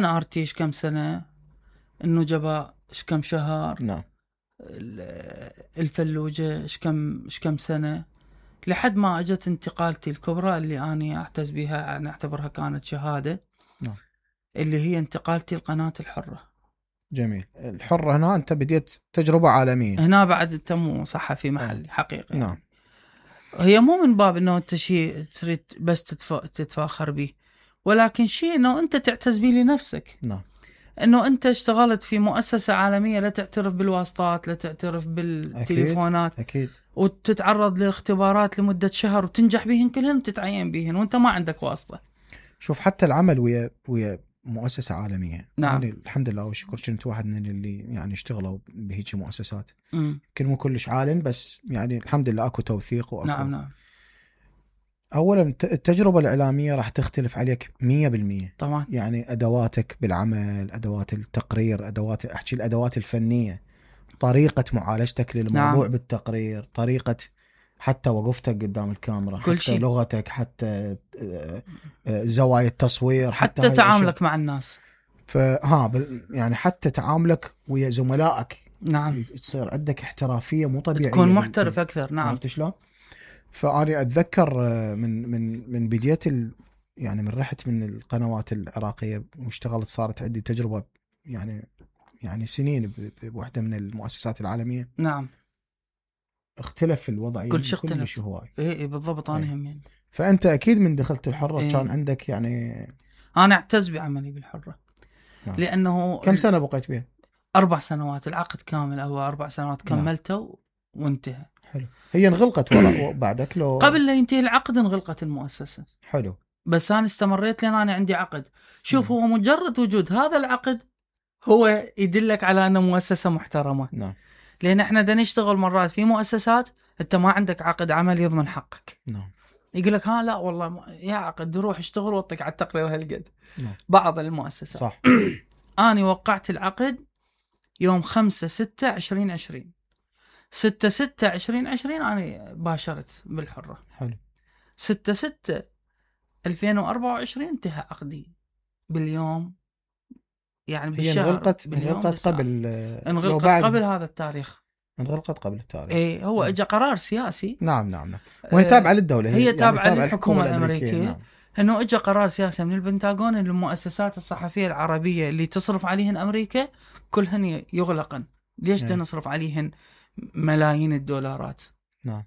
NRT ايش كم سنة، النجباء ايش كم شهر، نعم. الفلوجة ايش كم سنة، لحد ما اجت انتقالتي الكبرى اللي أنا اعتز بها، أنا اعتبرها كانت شهادة. نعم. اللي هي انتقالتي القناة الحرة. جميل. الحرة هنا أنت بديت تجربة عالمية. هنا بعد أنت مو صحفي محلي حقيقي. نعم. هي مو من باب أنه أنت شيء تريد بس تتفاخر به، ولكن شيء أنه أنت تعتز به لنفسك. نعم. أنه أنت اشتغلت في مؤسسة عالمية، لا تعترف بالواسطات، لا تعترف بالتليفونات. أكيد. وتتعرض لاختبارات لمدة شهر وتنجح بهن كلهن وتتعين بهن وأنت ما عندك واسطة. شوف حتى العمل ويا مؤسسة عالمية. نعم. يعني الحمد لله والشكر كنت واحد من اللي يعني اشتغلوا بهيك مؤسسات. كل مو كلش عالم، بس يعني الحمد لله اكو توثيق واكو. نعم. اولا التجربة الإعلامية راح تختلف عليك 100%. طبعا. يعني ادواتك بالعمل، ادوات التقرير، احكي الادوات الفنية، طريقة معالجتك للموضوع. نعم. بالتقرير، طريقة حتى وقفتك قدام الكاميرا، حتى شيء. لغتك، حتى زوايا التصوير، حتى تعاملك مع الناس. يعني حتى تعاملك ويا زملائك. نعم. تصير عندك احترافية مو طبيعية، تكون محترف أكثر. نعم. عرفت شلون؟ فأنا أتذكر من بداية يعني من رحت من القنوات العراقية واشتغلت، صارت عندي تجربة يعني سنين بوحدة من المؤسسات العالمية. نعم. اختلف الوضع. كل شيء اختلف. شو هو. ايه بالضبط. انا هم يعني. فانت اكيد من دخلت الحرة كان عندك يعني. انا اعتز بعملي بالحرة. نعم. لانه كم سنة بقيت بها؟ 4 سنوات. العقد كامل هو 4 سنوات كملته وانتهى. حلو. هي انغلقت بعدك لو قبل لا ينتهي العقد انغلقت المؤسسة. حلو. بس انا استمريت لان انا عندي عقد. شوف هو مجرد وجود هذا العقد هو يدلك على انه مؤسسة محترمة. نعم. لان احنا دا نشتغل مرات في مؤسسات انت ما عندك عقد عمل يضمن حقك. نعم. يقول لك لا والله يا عقد روح اشتغل وطق على التقرير هالقد. نعم. بعض المؤسسات. صح. أنا وقعت العقد يوم 5/6/2020. 6/6/2020 أنا باشرت بالحرة. حلو. 6/6/2024 انتهى عقدي باليوم، يعني بالشهر. انغلقت قبل. انغلقت قبل هذا التاريخ. انغلقت قبل التاريخ. ايه هو اجى قرار سياسي. نعم. وهي تابعة للدولة. هي تابعة للحكومة الأمريكية. نعم. انه اجى قرار سياسي من البنتاغون ان المؤسسات الصحفية العربية اللي تصرف عليهن امريكا كلهن يغلقن. ليش بدنا نصرف عليهن ملايين الدولارات؟ نعم.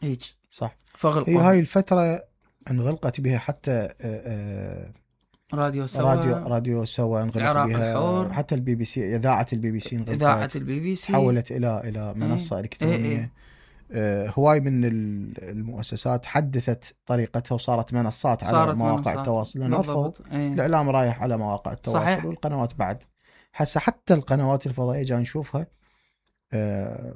هيك صح. فغلقوا. هي هاي الفترة انغلقت بها حتى راديو سوا انغلق بها، حتى البي بي سي، إذاعة البي بي سي انغلقت. إذاعة البي بي سي تحولت إلى منصة إلكترونية. هواي من المؤسسات حدثت طريقتها وصارت منصات على مواقع التواصل، لأن الإعلام رايح على مواقع التواصل. صحيح. والقنوات بعد هسه حتى القنوات الفضائية جاي نشوفها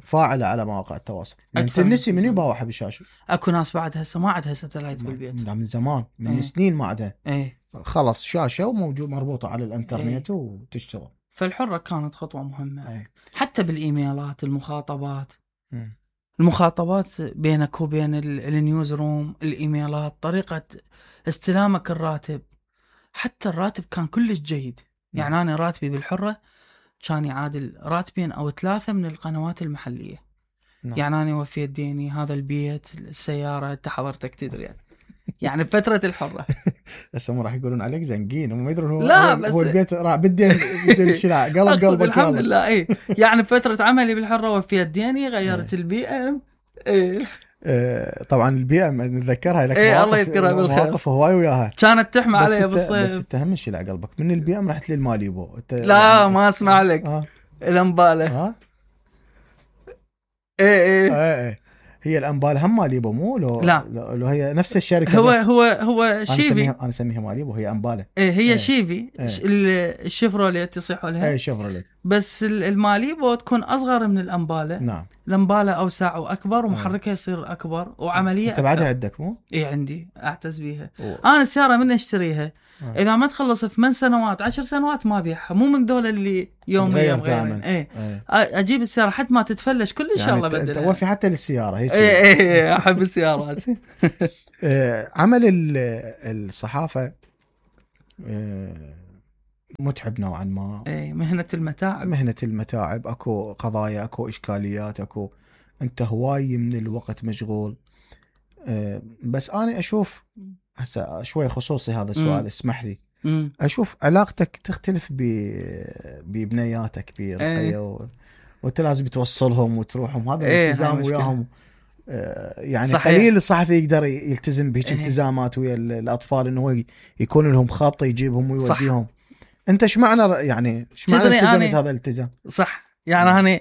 فاعلة على مواقع التواصل. انت النسي من يباوحها بالشاشة. اكو ناس بعد هسه ما عندها ستلايت بالبيت. لا من زمان، من سنين ما عندها. خلص شاشة وموجود مربوطة على الانترنت وتشتغل. فالحرة كانت خطوة مهمة. حتى بالإيميلات، المخاطبات بينك وبين النيوز روم، الإيميلات، طريقة استلامك الراتب. حتى الراتب كان كلش جيد. يعني أنا راتبي بالحرة كان يعادل 2 أو 3 من القنوات المحلية. يعني أنا وفيت ديني، هذا البيت، السيارة، أنت حضرتك تدري يعني بفترة الحرة. هسه مو راح يقولون عليك زنقين، هم ما يدرون هو البيت بدين الشراء قلبك. الحمد لله. يعني بفترة عملي بالحرة وفيت ديني، غيرت البي ام. طبعا البي ام نتذكرها لك. الله يذكرها بالخير. مواقف هواي وياها كانت تحمى علي بالصيف. بس انت هم شيء قلبك من البي ام رحت للماليبو. لا ما اسمع لك. الامبالة. ايه هي الأنبال هم ماليبو مو لو هي نفس الشركة. هو شيفي. أنا أسميها ماليبو، هي أنبالة. هي شيفي. الشيفروليت يصيحوا لها. شيفروليت. بس الماليبو تكون أصغر من الأنبالة. نعم. الأنبالة أوسع وأكبر ومحركها يصير أكبر وعملية. أنت بعدها عندك مو؟ عندي أعتز بيها. أنا السيارة من أشتريها إذا ما تخلص 8 سنوات 10 سنوات ما بيعها، مو من دولة اللي يوم غير. أجيب السيارة حتى ما تتفلش كل إن شاء الله بدلها. أنت وفي حتى للسيارة هيك. أحب السيارات. عمل الصحافة متعب نوعا ما. مهنة المتاعب، اكو قضايا، اكو اشكاليات، اكو انت هواي من الوقت مشغول. بس انا اشوف هسه شوي خصوصي هذا السؤال، اسمح لي. اشوف علاقتك تختلف ببنياتك برقية وانت لازم توصلهم وتروحهم، هذا الالتزام وياهم. يعني صحيح. قليل الصحفي يقدر يلتزم بهيك التزامات ويا الاطفال، انه هو يكون لهم خط يجيبهم ويوديهم. صح. انت ايش معنى يعني ايش معنى التزمت هذا الالتزام؟ صح، يعني انا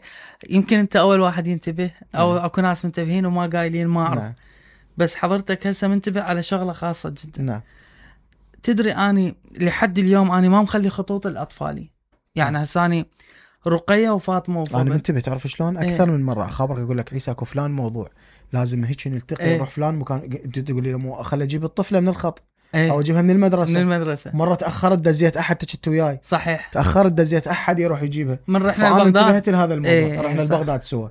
يمكن انت اول واحد ينتبه او اكو ناس منتبهين وما قايلين، ما اعرف. بس حضرتك هسه منتبه على شغله خاصه جدا. تدري اني لحد اليوم اني ما مخلي خطوط الاطفالي، يعني هساني رقية وفاطمه وفضل. انا منتبه، تعرف شلون؟ اكثر من مره اخبرك اقول لك عيسى اكو فلان موضوع لازم هيك نلتقي نروح فلان مكان، انت تقول لي مو خلي اجيب الطفله من الخط او اجيبها من المدرسه. مره تاخرت دزيت احد تشت وياي. صحيح، تاخرت دزيت احد يروح يجيبها. من رحنا لبغداد انتبهت لهذا الموضوع. رحنا لبغداد سوا.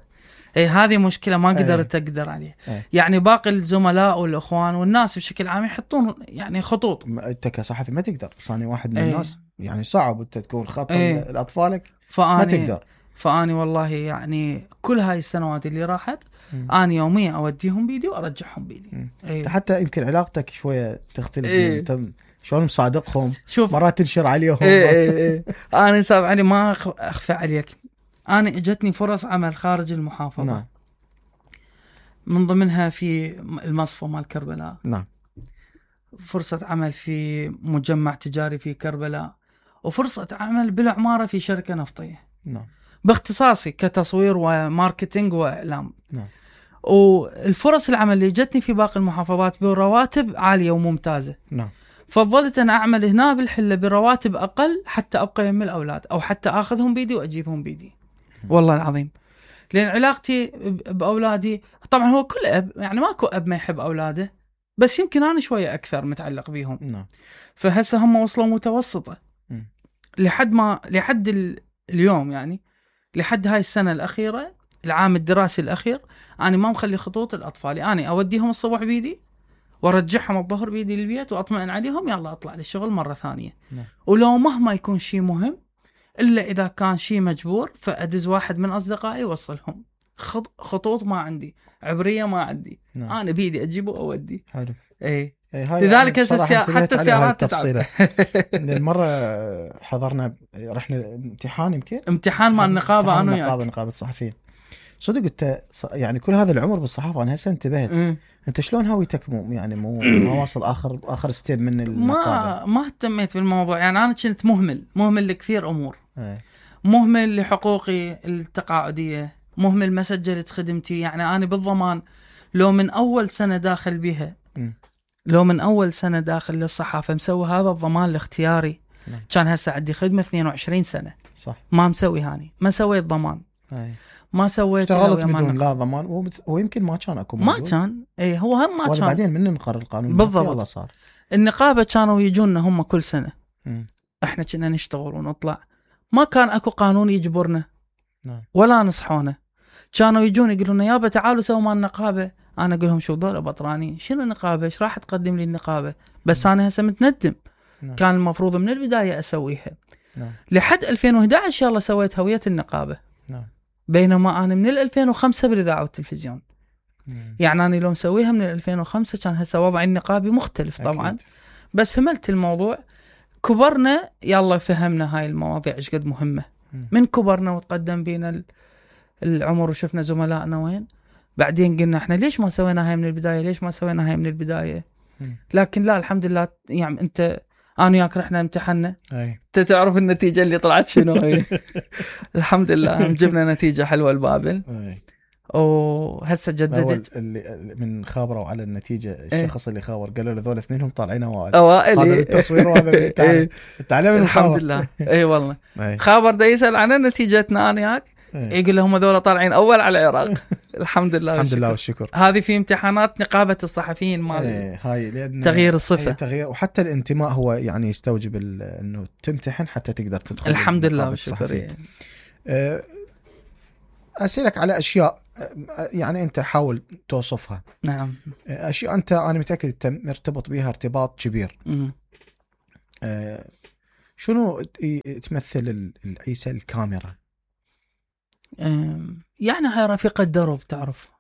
هذه مشكله ما قدرت اقدر عليها. يعني باقي الزملاء والاخوان والناس بشكل عام يحطون يعني خطوط. انت كصحفي ما تقدر، صاني واحد من الناس يعني صعب انت تكون خط لاطفالك، ما تقدر. فاني والله يعني كل هاي السنوات اللي راحت انا يوميا اوديهم بيدي وارجعهم بيدي. حتى يمكن علاقتك شويه تختلف. انت شلون مصادقهم، مرات تنشر عليهم. انا صعب علي ما اخفى عليك، انا اجتني فرص عمل خارج المحافظه. نعم. من ضمنها في المصفى مال كربلاء. نعم. فرصه عمل في مجمع تجاري في كربلاء، وفرصه عمل بالعماره في شركه نفطيه. نعم. باختصاصي كتصوير وماركتينج واعلام. نعم. والفرص العمل اللي جتني في باقي المحافظات برواتب عاليه وممتازه. نعم. فضلت أنا أعمل هنا بالحلة برواتب أقل حتى أبقى يم الأولاد، أو حتى أخذهم بيدي وأجيبهم بيدي. والله العظيم، لأن علاقتي بأولادي طبعا هو كل أب، يعني ماكو أب ما يحب أولاده، بس يمكن أنا شوية أكثر متعلق بيهم. نعم. فهسه هم وصلوا متوسطة لحد اليوم، يعني لحد هاي السنة الأخيرة، العام الدراسي الأخير، أنا ما مخلي خطوط الأطفال. أنا أوديهم الصبح بيدي وارجعهم الظهر بيدي للبيت واطمئن عليهم، يلا اطلع للشغل مره ثانيه. نعم. ولو مهما يكون شيء مهم، الا اذا كان شيء مجبور، فادز واحد من اصدقائي يوصلهم. خطوط ما عندي، عبريه ما عندي. نعم. انا بيدي اجيبه واودي. حلو. لذلك حتى السيارات تتعب. المره حضرنا رحنا امتحان، يمكن امتحان مع النقابه، انا وياك نقابه الصحفيين. صدق انت يعني كل هذا العمر بالصحافه، انا هسه انتبهت. انت شلون هويتك يعني ما واصل اخر ستيب من النقابه؟ ما اهتميت بالموضوع، يعني انا كنت مهمل لكثير امور. مهمل لحقوقي التقاعديه، مهمل ما سجلت خدمتي. يعني انا بالضمان لو من اول سنه داخل بها، لو من اول سنه داخل للصحافه مسوي هذا الضمان الاختياري، كان هسه عندي خدمه 22 سنه. صح. ما مسوي هاني، ما سويت ضمان. ما سويت، اشتغلت بدون لا ضمان، ويمكن ما كان اكو موجود. ما كان هو هم ما كان. بعدين من نقر القانون بالضبط صار. النقابه كانوا يجونا هم كل سنه. احنا كنا نشتغل ونطلع، ما كان اكو قانون يجبرنا. ولا نصحونا. كانوا يجون يقولون يابا تعالوا سووا مع النقابه. انا اقول لهم شو ذول بطرانين، شنو النقابه، ايش راح تقدم لي النقابه؟ بس انا هسه متندم. كان المفروض من البدايه اسويها. لحد 2011 يلا سويت هويه النقابه. بينما أنا من 2005 بالإذاعة والتلفزيون. يعني أنا لو مسويها من 2005 كان هسه وضعي النقابي مختلف طبعا. أكيد. بس هملت الموضوع، كبرنا، يلا فهمنا هاي المواضيع إيش قد مهمة. من كبرنا وتقدم بينا العمر وشفنا زملائنا وين، بعدين قلنا إحنا ليش ما سوينا هاي من البداية. لكن لا، الحمد لله. يعني أنت أنا وياك رحنا امتحنا، أنت تعرف النتيجة اللي طلعت شنو. الحمد لله جبنا نتيجة حلوة البابل. وهسه جددت. اللي من خابروا على النتيجة، الشخص اللي خابر قالوا له ذول اثنينهم طالعين اوائل. هذا التصوير وهذا التعليم. الحمد لله. اي والله. خابر دا يسأل عن نتيجتنا انا وياك، يقول لهم ذول طالعين اول على العراق. الحمد لله. الحمد لله والشكر. هذه في امتحانات نقابة الصحفيين مال هاي تغيير الصفة. تغيير، وحتى الانتماء هو يعني يستوجب انه تمتحن حتى تقدر تدخل. الحمد لله والشكر. أسألك على أشياء يعني أنت حاول توصفها. نعم. أشياء أنا متأكد أنت مرتبط بها ارتباط كبير. شنو تمثل عيسى الكاميرا؟ يعني هاي رفيقة درب تعرف.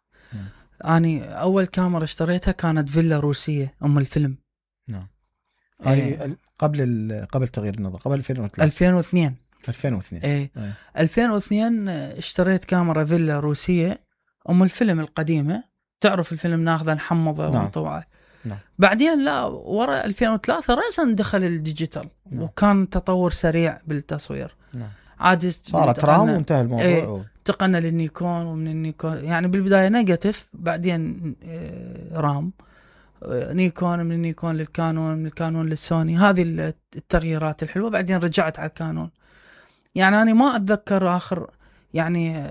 أنا أول كاميرا اشتريتها كانت فيلا روسية أم الفيلم. نعم. هاي قبل تغيير النظام، قبل 2002. 2002 اشتريت كاميرا فيلا روسية أم الفيلم القديمة، تعرف الفيلم ناخذه نحمضه ونطبعه. نعم. بعدين لا ورا 2003 رأسا دخل الديجيتال. نعم. وكان تطور سريع بالتصوير. نعم. عاد صارت رام وانتهى الموضوع. انتقلنا للنيكون، ومن النيكون يعني بالبداية نيجاتيف، بعدين رام، نيكون، من النيكون للكانون، من الكانون للسوني. هذه التغييرات الحلوة. بعدين رجعت على الكانون. يعني أنا ما أتذكر آخر يعني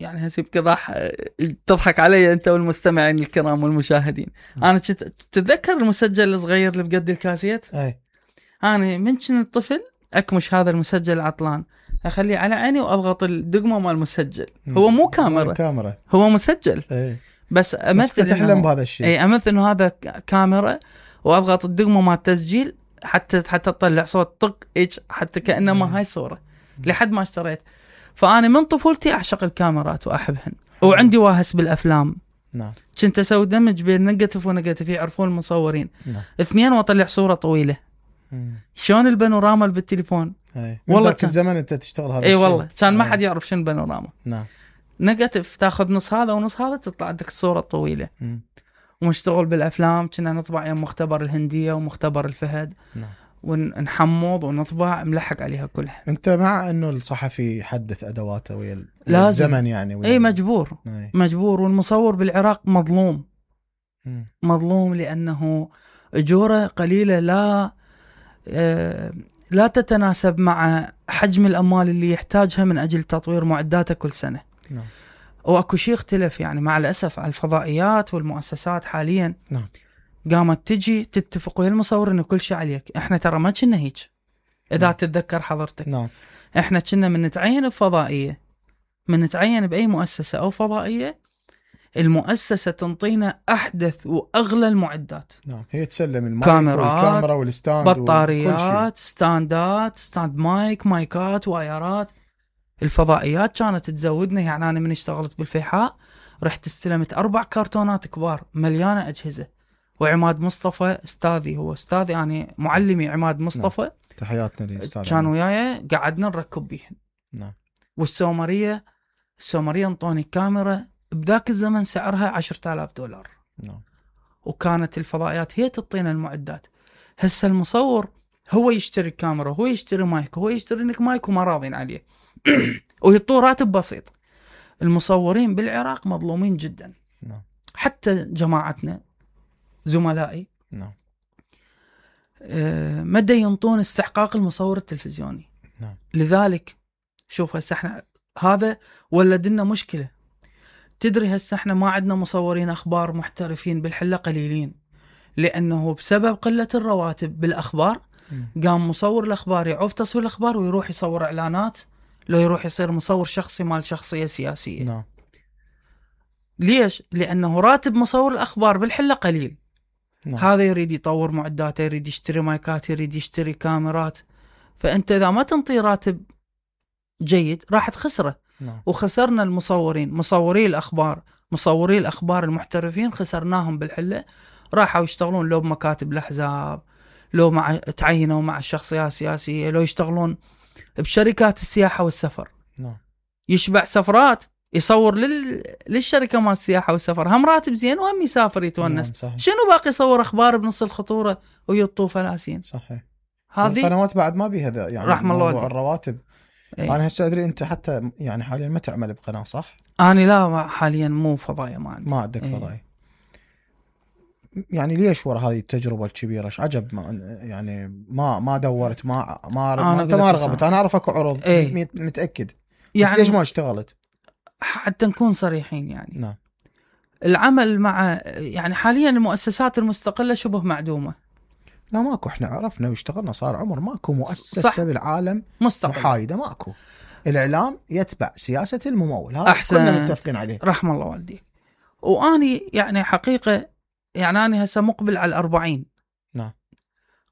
هسيبك راح تضحك علي أنت والمستمعين الكرام والمشاهدين. أنا تتذكر المسجل الصغير اللي بقد الكاسيت؟ أنا من كنت طفل أكمش هذا المسجل عطلان، أخليه على عيني وأضغط الدقمة مال المسجل. هو مو كاميرا، هو مسجل. بس أمثل تحلم بهذا الشيء. أمثل إنه هذا كاميرا، وأضغط الدقمة مال التسجيل حتى تطلع صوت طق إيش، حتى كأنما هاي صورة. لحد ما اشتريت. فأنا من طفولتي أعشق الكاميرات وأحبهن، وعندي واهس بالأفلام. نعم. كنت أسوي دمج بين نيجاتيف ونيجاتيف، يعرفون المصورين. نعم. 2 وأطلع صورة طويلة. شلون البانوراما بالتليفون. والله كان الزمن أنت تشتغل هذا الشيء. والله كان ما حد يعرف شنو بانوراما. نعم. نيجاتيف تاخذ نص هذا ونص هذا، تطلع عندك الصورة الطويلة. ومشتغل بالأفلام، كنا نطبع يوم مختبر الهندية ومختبر الفهد. نعم. ونحمض ونطبع ملحق عليها كلها. انت مع انه الصحفي يحدث ادواته ويا الزمن يعني؟ اي مجبور. والمصور بالعراق مظلوم. مظلوم لانه اجوره قليله، لا تتناسب مع حجم الاموال اللي يحتاجها من اجل تطوير معداته كل سنه. نعم. واكو شيء اختلف يعني مع الاسف على الفضائيات والمؤسسات حاليا. نعم. قامت تجي تتفق ويا المصور انه كل شيء عليك. احنا ترى ما كنا هيك اذا تتذكر حضرتك. نعم. احنا كنا من نتعين بفضائيه، من نتعين باي مؤسسه او فضائيه، المؤسسه تنطينا احدث واغلى المعدات. نعم. هي تسلم المايك والكاميرا والستاند، بطاريات، ستاند مايكات، وايرات. الفضائيات كانت تزودنا. يعني انا من اشتغلت بالفيحاء رحت استلمت 4 كرتونات كبار مليانه اجهزه. وعماد مصطفى استاذي، هو استاذي يعني معلمي عماد مصطفى. نعم. تحياتنا للاستاذ. كان وياي قعدنا نركب بيهن. نعم. والسومريه انطوني كاميرا بذاك الزمن سعرها $10,000. نعم. وكانت الفضائيات هي تعطينا المعدات. هسه المصور هو يشتري كاميرا، هو يشتري مايك، هو يشتري لك مايك وما راضين عليه ويعطوه راتب بسيط. المصورين بالعراق مظلومين جدا. نعم. حتى جماعتنا زملائي. نعم. مدى ينطون استحقاق المصور التلفزيوني. نعم. لذلك شوف هسه احنا هذا ولدنا مشكلة. تدري هسه احنا ما عندنا مصورين اخبار محترفين بالحلة قليلين، لانه بسبب قلة الرواتب بالاخبار قام مصور الاخبار يعوف تصوير الاخبار ويروح يصور اعلانات، لو يروح يصير مصور شخصي مال شخصية سياسية. نعم. ليش؟ لانه راتب مصور الاخبار بالحلة قليل. نعم. هذا يريد يطور معداته، يريد يشتري مايكات، يريد يشتري كاميرات. فأنت إذا ما تنطي راتب جيد راح تخسره. نعم. وخسرنا المصورين، مصوري الأخبار المحترفين خسرناهم بالحلة. راحوا يشتغلون لو بمكاتب الأحزاب، لو تعينوا مع الشخصيات السياسية، لو يشتغلون بشركات السياحة والسفر. نعم. يشبع سفرات يصور للشركة مال السياحة والسفر، هم راتب زين وهم يسافر يتونس. نعم. شنو باقي يصور أخبار بنص الخطورة ويطوا فلاسين؟ صحيح. هذه القنوات بعد ما بيها يعني رحم الله موضوع الرواتب. أنا هسه أدري أنت حتى يعني حاليا ما تعمل بقناة صح؟ أنا لا حاليا مو فضايا، ما عندك فضايا. يعني ليش ورا هذه التجربة الكبيرة؟ ايش عجب يعني ما دورت انت ما رغبت؟ انا اعرفك عروض متأكد يعني، بس ليش ما اشتغلت؟ حتى نكون صريحين يعني. نعم. العمل مع يعني حاليا المؤسسات المستقلة شبه معدومة. لا ماكو، احنا عرفنا واشتغلنا صار عمر، ماكو مؤسسة صح. بالعالم مستقل محايدة ماكو. الإعلام يتبع سياسة الممول، هذا كلنا متفقين عليه. رحم الله والديك. واني يعني حقيقة يعني أنا هسه مقبل على 40. نعم.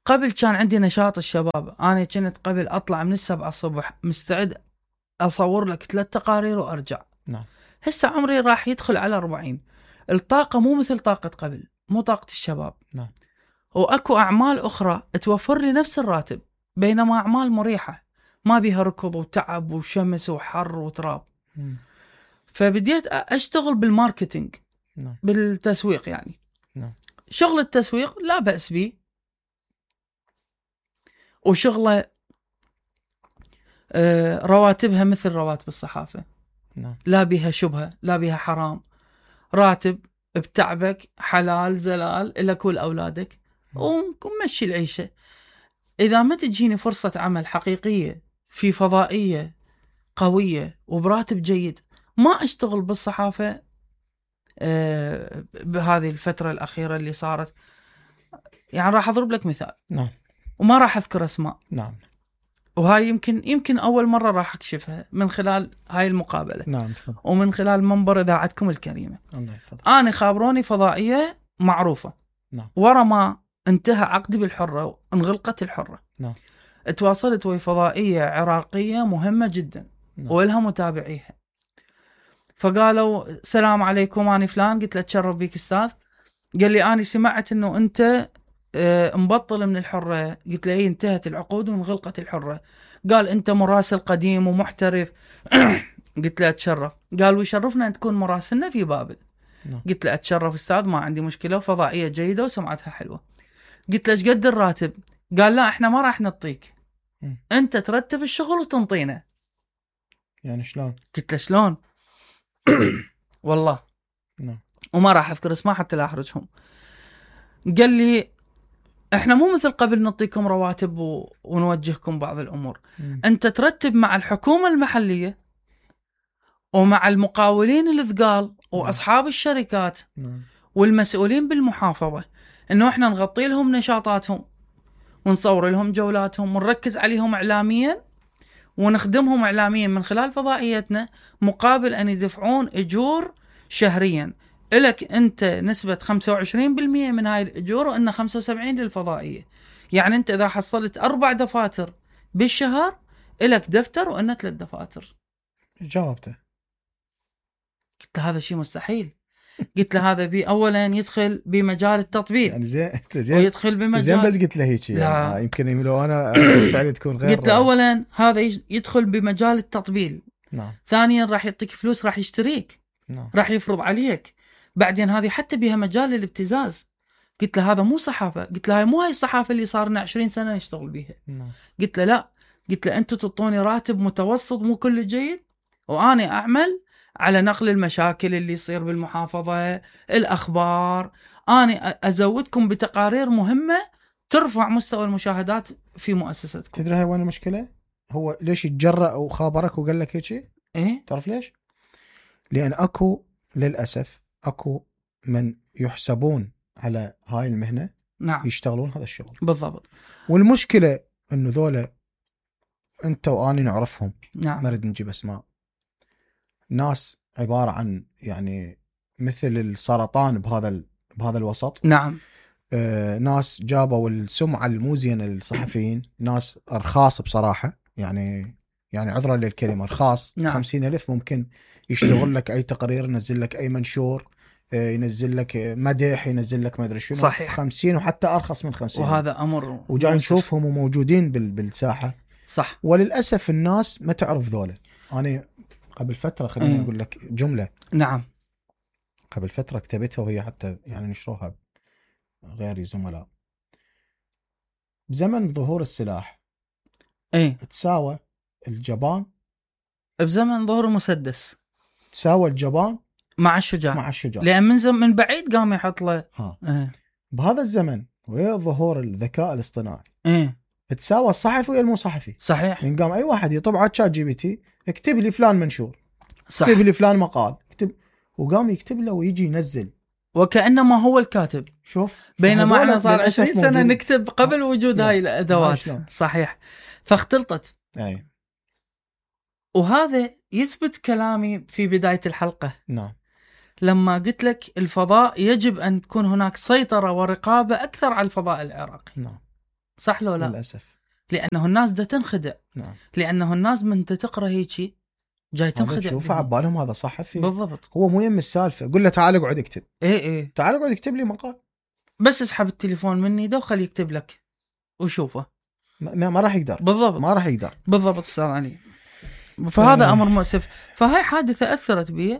قبل كان عندي نشاط الشباب، أنا كنت قبل أطلع من 7 الصبح مستعد أصور لك 3 تقارير وأرجع. نعم. هسه عمري راح يدخل على 40، الطاقة مو مثل طاقة قبل، مو طاقة الشباب. نعم. وأكو أعمال أخرى توفر لي نفس الراتب، بينما أعمال مريحة ما بيها ركض وتعب وشمس وحر وتراب. فبديت أشتغل بالماركتينج. نعم. بالتسويق يعني. نعم. شغل التسويق لا بأس به، وشغله رواتبها مثل رواتب الصحافة. نعم. لا بها شبهة، لا بها حرام، راتب بتعبك حلال زلال إلك ولأولادك ومشي العيشة. إذا ما تجيني فرصة عمل حقيقية في فضائية قوية وبراتب جيد ما أشتغل بالصحافة. بهذه الفترة الأخيرة اللي صارت، يعني راح أضرب لك مثال. نعم. وما راح أذكر أسماء. نعم. وهاي يمكن أول مرة راح أكشفها من خلال هاي المقابلة. نعم تفضل. ومن خلال منبر إذاعتكم الكريمة. الله يحفظك. أنا خابروني فضائية معروفة. نعم. ورا ما انتهى عقدي بالحرة وانغلقت الحرة. نعم. تواصلت ويا فضائية عراقية مهمة جدا. نعم. ولها متابعيها. فقالوا السلام عليكم أنا فلان، قلت له تشرف بيك أستاذ. قال لي أنا سمعت أنه أنت مبطل من الحرة. قلت له انتهت العقود وانغلقت الحرة. قال أنت مراسل قديم ومحترف. قلت له أتشرف. قال ويشرفنا أن تكون مراسلنا في بابل. قلت له أتشرف أستاذ ما عندي مشكلة، فضائية جيدة وسمعتها حلوة. قلت له ايش قد الراتب؟ قال لا احنا ما راح نعطيك، أنت ترتب الشغل وتنطينا. يعني شلون؟ قلت له شلون؟ والله وما راح أذكر اسمه حتى لا أحرجهم. قال لي احنا مو مثل قبل نعطيكم رواتب ونوجهكم بعض الأمور. أنت ترتب مع الحكومة المحلية ومع المقاولين الثقال وأصحاب الشركات والمسؤولين بالمحافظة إنه احنا نغطي لهم نشاطاتهم ونصور لهم جولاتهم ونركز عليهم إعلاميا ونخدمهم إعلاميا من خلال فضائيتنا، مقابل أن يدفعون أجور شهريا. إلك أنت نسبة 25% من هاي الأجور وإن 75 للفضائية. يعني أنت إذا حصلت 4 دفاتر بالشهر إلك دفتر وإن 3 دفاتر. جاوبته. قلت له هذا شيء مستحيل. قلت له هذا أولا يدخل بمجال التطبيق. يعني زين ويدخل بمجال زين بس قلت له هيك يعني يمكن لو أنا فعلي تكون غير. قلت له أولا هذا يدخل بمجال التطبيل. نعم. ثانيا راح يعطيك فلوس، راح يشتريك. نعم. راح يفرض عليك. بعدين هذه حتى بها مجال الابتزاز. قلت له هذا مو صحافة. قلت له هاي مو هاي الصحافة اللي صارنا 20 سنة نشتغل بيها. نعم. قلت له لا. قلت له أنتوا تعطوني راتب متوسط مو كل جيد، وأنا أعمل على نقل المشاكل اللي يصير بالمحافظة، الأخبار. أنا أزودكم بتقارير مهمة ترفع مستوى المشاهدات في مؤسستكم. تدري هاي وين المشكلة؟ هو ليش يتجرأ وخابرك وقال لك هيك؟ إيه؟ تعرف ليش؟ لأن أكو للأسف أكو من يحسبون على هاي المهنة. نعم. يشتغلون هذا الشغل بالضبط. والمشكلة إنه ذولا أنت وأنا نعرفهم. نعم. ما نريد نجيب أسماء. ناس عبارة عن يعني مثل السرطان بهذا الوسط. نعم. ناس جابوا السمعة الموزينة للصحفيين، ناس أرخاص بصراحة، يعني عذرا للكلمة أرخاص. نعم. 50,000 ممكن يشتغل لك أي تقرير، ينزل لك أي منشور، ينزل لك مدح، ينزل لك ما أدري شنو. صحيح. 50 وحتى أرخص من 50. وهذا أمر وجاي نشوفهم وموجودين بالساحة. صح. وللأسف الناس ما تعرف ذولا. أنا قبل فترة خليني أقول لك جملة. نعم. قبل فترة كتبتها وهي حتى يعني نشروها غيري زملاء. بزمن ظهور السلاح تساوى الجبان، بزمن ظهور المسدس تساوى الجبان مع الشجاع. لأن من بعيد قام يحط له. بهذا الزمن ويا ظهور الذكاء الاصطناعي تساوى الصحفي ويا المو صحفي. صحيح. من قام أي واحد يطبع على شات جي بي تي اكتب لي فلان منشور، صح. اكتب لي فلان مقال، وقام يكتب له ويجي ينزل وكأنما هو الكاتب. شوف، بينما احنا صار 20 سنة نكتب قبل وجود هاي الأدوات. صحيح. فاختلطت. أي. وهذا يثبت كلامي في بداية الحلقة. نعم. لما قلت لك الفضاء يجب أن تكون هناك سيطرة ورقابة أكثر على الفضاء العراقي. نعم. صح لو لا؟ للأسف. لأنه الناس دا تنخدع. نعم. لأنه الناس من تقرأ هيجي جاي تنخدع. شوف عبالهم هذا صحفي. بالضبط. هو مو يم السالفة، قل له تعال اقعد اكتب. ايه تعال اقعد اكتب لي مقال. بس اسحب التليفون مني ده وخليه يكتب لك وشوفه. ما راح يقدر. بالضبط. ما راح يقدر. بالضبط استاذ علي. فهذا أمر مؤسف. فهاي حادثة أثرت بي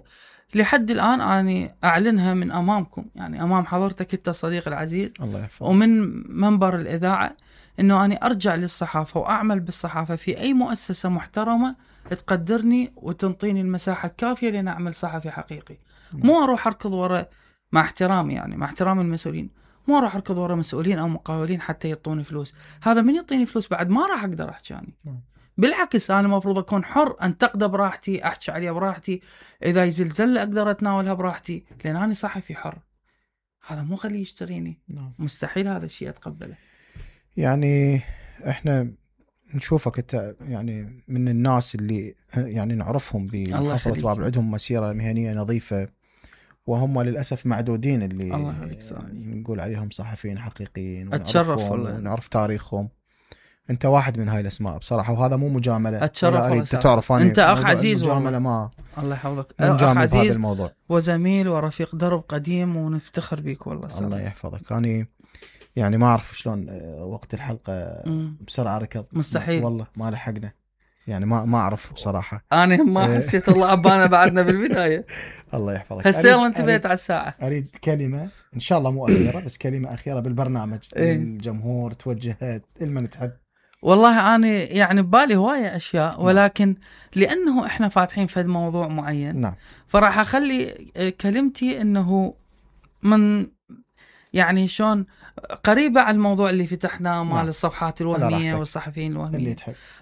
لحد الآن. أنا أعلنها من أمامكم، يعني أمام حضرتك أنت صديق العزيز، الله يحفظك، ومن منبر الإذاعة، إنه أنا أرجع للصحافة وأعمل بالصحافة في أي مؤسسة محترمة تقدرني وتنطيني المساحة الكافية لأن أعمل صحفي حقيقي. مو أروح أركض وراء، مع احترامي يعني مع احترام المسؤولين، مو أروح أركض وراء مسؤولين أو مقاولين حتى يعطوني فلوس. هذا من يعطيني فلوس بعد ما راح أقدر أحكي عني. بالعكس أنا المفروض أكون حر، أنتقد براحتي، أحكي عليها براحتي، إذا يزلزل أقدر أتناولها براحتي، لأن أنا صحفي حر. هذا مو خليه يشتريني. مستحيل هذا الشيء أتقبله. يعني إحنا نشوفك أنت يعني من الناس اللي يعني نعرفهم بمحافظة باب، عندهم مسيرة مهنية نظيفة، وهم للأسف معدودين اللي نقول عليهم صحفيين حقيقيين. أتشرف والله، ونعرف تاريخهم. أنت واحد من هاي الأسماء بصراحة، وهذا مو مجاملة. أتشرف والله. تعرف أنت أخ عزيز والله. ما الله يحفظك. أخ عزيز وزميل ورفيق درب قديم، ونفتخر بيك والله. الله يحفظك. أنا يعني ما أعرف شلون وقت الحلقة بسرعة ركض. مستحيل والله، ما لحقنا يعني. ما أعرف بصراحة. أنا ما حسيت الله عبانا بعدنا بالبداية. الله يحفظك. هسه يلا انتبهت على الساعة. أريد كلمة إن شاء الله مو أخيرة، بس كلمة أخيرة بالبرنامج الجمهور توجهها لمن تحب. والله أنا يعني ببالي هواية أشياء، ولكن لأنه إحنا فاتحين في موضوع معين، نعم، فراح أخلي كلمتي إنه من يعني شون قريبة على الموضوع اللي فتحناه مال الصفحات الوهمية والصحفيين الوهمية.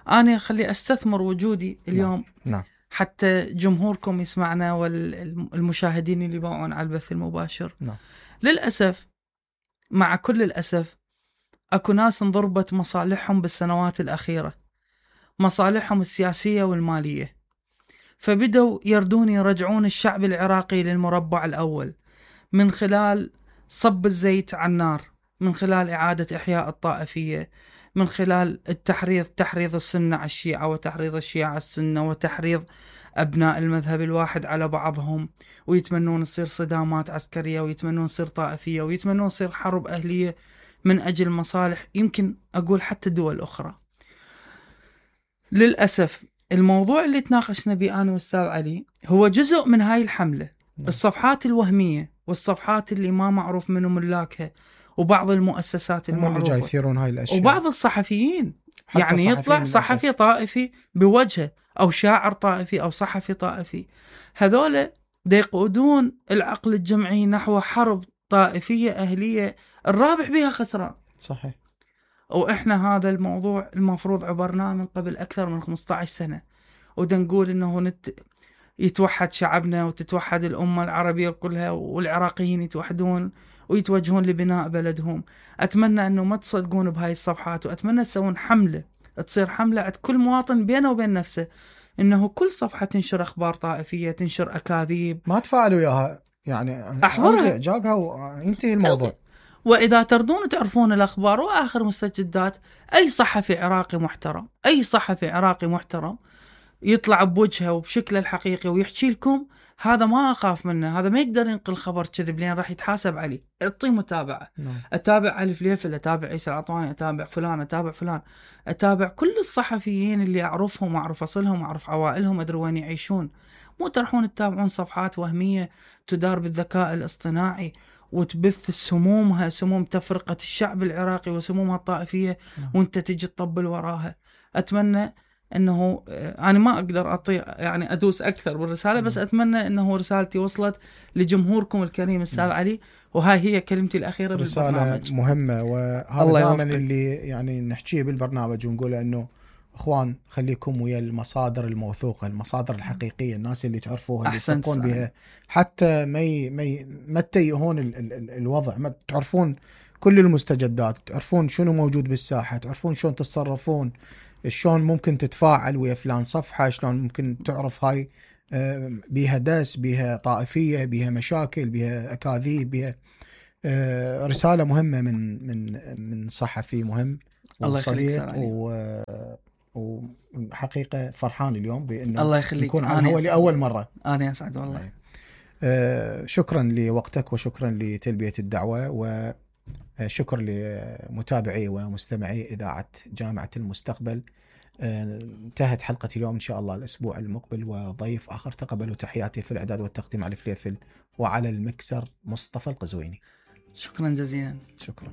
أنا خلي أستثمر وجودي اليوم. نعم. حتى جمهوركم يسمعنا والمشاهدين اللي باعون على البث المباشر. نعم. للأسف، مع كل الأسف، أكو ناس انضربت مصالحهم بالسنوات الأخيرة، مصالحهم السياسية والمالية، فبدوا يردون يرجعون الشعب العراقي للمربع الأول من خلال صب الزيت على النار، من خلال إعادة إحياء الطائفية، من خلال تحريض السنة على الشيعة، وتحريض الشيعة على السنة، وتحريض أبناء المذهب الواحد على بعضهم، ويتمنون تصير صدامات عسكرية، ويتمنون تصير طائفية، ويتمنون تصير حرب أهلية من أجل مصالح يمكن أقول حتى دول أخرى. للأسف الموضوع اللي تناقشنا به أنا وأستاذ علي هو جزء من هاي الحملة. الصفحات الوهمية والصفحات اللي ما معروف منو ملاكها، وبعض المؤسسات المعروفة، يثيرون هاي الأشياء، وبعض الصحفيين يعني يطلع صحفي طائفي بوجهه، أو شاعر طائفي، أو صحفي طائفي، هذول دا يقودون العقل الجمعي نحو حرب طائفية أهلية الرابح بها خسران. صحيح. وإحنا هذا الموضوع المفروض عبرناه من قبل أكثر من 15 سنة، ودا نقول إنه يتوحد شعبنا وتتوحد الأمة العربية كلها، والعراقيين يتوحدون ويتوجهون لبناء بلدهم. أتمنى أنه ما تصدقون بهاي الصفحات، وأتمنى تسوون حملة، تصير حملة عند كل مواطن بينه وبين نفسه، إنه كل صفحة تنشر أخبار طائفية، تنشر أكاذيب، ما تفاعلوا وياها يعني، أحضرها جابها وينتهي الموضوع. وإذا تردون تعرفون الأخبار وآخر مستجدات، أي صحفي عراقي محترم، أي صحفي عراقي محترم يطلع بوجهه وبشكله الحقيقي ويحكي لكم، هذا ما أخاف منه، هذا ما يقدر ينقل خبر كذب لين راح يتحاسب عليه. اعطيه متابعة. أتابع علي فليفل، أتابع عيسى العطواني، أتابع فلان، أتابع فلان، أتابع كل الصحفيين اللي أعرفهم وأعرف أصلهم وأعرف عوائلهم، أدري وين يعيشون. مو تروحون تتابعون صفحات وهمية تدار بالذكاء الاصطناعي وتبث سمومها، سموم تفرقة الشعب العراقي وسمومها الطائفية، وانت تجي تطبل وراها. أتمنى أنه أنا ما أقدر يعني أدوس أكثر بالرسالة، بس أتمنى أنه رسالتي وصلت لجمهوركم الكريم أستاذ علي، وهاي هي كلمتي الأخيرة بالبرنامج. رسالة مهمة، وهذا دائما اللي يعني نحكيه بالبرنامج، ونقول أنه أخوان خليكم ويا المصادر الموثوقة، المصادر الحقيقية، الناس اللي تعرفوها، اللي تثقون بها، حتى ما تتيهون الوضع، ما تعرفون كل المستجدات، تعرفون شنو موجود بالساحة، تعرفون شلون تتصرفون، شلون ممكن تتفاعل ويا فلان صفحة، شلون ممكن تعرف هاي بيها دس، بيها طائفية، بيها مشاكل، بيها أكاذيب، بيها رسالة مهمة من صحفي مهم. وصديق وحقيقة فرحان اليوم بأنه الله يخليك نكون على الهواء لأول مرة. أنا أسعد والله. شكرا لوقتك وشكرا لتلبية الدعوة، وشكر لمتابعي ومستمعي إذاعة جامعة المستقبل. انتهت حلقة اليوم، إن شاء الله الأسبوع المقبل وضيف آخر. تقبلوا تحياتي في الإعداد والتقديم علي فليفل، وعلى المكسر مصطفى القزويني. شكرا جزيلا. شكرا.